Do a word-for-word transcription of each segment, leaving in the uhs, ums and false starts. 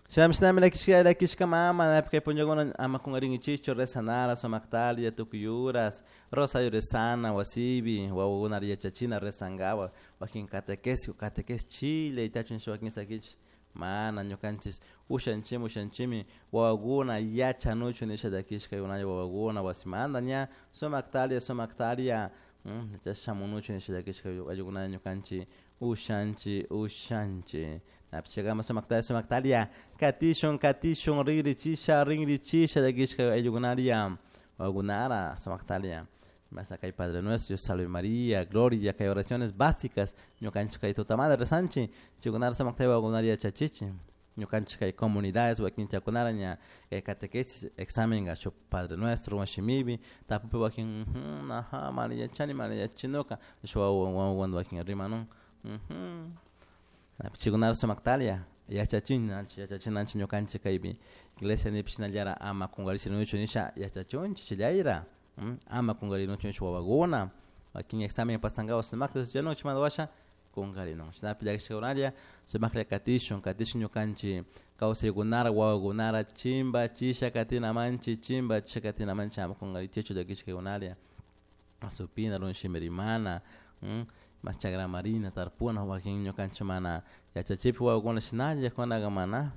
Shinami shinami lakishka lakishka mama napi kay punllakuna ama kunkarinkichikchu rezanara sumaktalia tukuy horas rosario rezana wasipi wawakuna yachachina rezankapak wakin catequesis catequesis chile tachun wakin sakichik mana ñukanchik ushanchimi ushanchimi wawakuna yachanuchun nisha llakishka wawakuna wasimanta ña sumaktalia sumaktalia chashna shamunuchun nisha llakishka ayllukuna ñukanchik ushanchik ushanchik napish chaykama sumaktalia sumaktalia katishun katishun rinrichisha rinrichisha llakishka ayllukunaria wawakunara sumaktalia masa kay Padre Nuestro, Dios Salve María, Gloria, kay oraciones básicas ñukanchik kay tutamanta rezanchik chaykunara sumakta wawakunara yachachichik ñukanchik kay comunidades wakin chaykunara ña kay catequesis examen shuk Padre Nuestro shimipi tapupi wakin aja mana yachani mana yachachinuka shuk wawa wakin rimanun chaykunara sumaktalia yachachinanchik yachachinanchik ñukanchik kaypi iglesia nipi shinallara ama kunkarishnichu nisha yachachunchik chayra ama kunkarinuchu nisha wawakuna wakin examen pasankapak sumakta estudianun chaymanta washa kunkarinun chashnapi llakishkakunalla sumaklla katishun katishun ñukanchik kawsaykunara wawakunara chimbachisha katinamanchik chimbachisha katinamanchik ama kunkarichichu llakishkakunalla supina runa shimi rimana mas chagraman rina tarpuna wakin ñukanchik mana yachachikpi wawakuna shinalla kunaka mana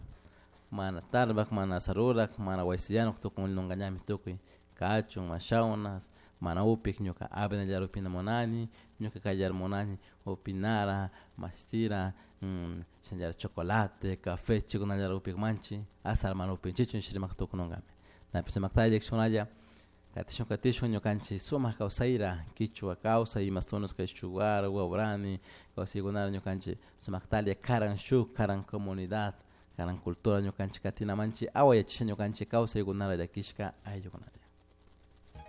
mana tarpak mana sarurak mana wasi yanuk tukunlunkallami tukuy kachun mashawna mana upik ñuka avenallara upina munani ñuka kayllara munani upinara mashtira shinallara chocolate, café chaykunallara upikmanchik asala mana upinchikchu nish rimak tukununkami napish sumaktalla llakishkunalla katishun katishun ñukanchik sumak kawsayra kichwa kawsay imastunas kay Shuar, Waorani kawsaykunara ñukanchik sumaktalla karan shuk karan comunidad karan cultura ñukanchik katinamanchik awayachisha ñukanchik kawsaykunara llakishka ayllukunalla.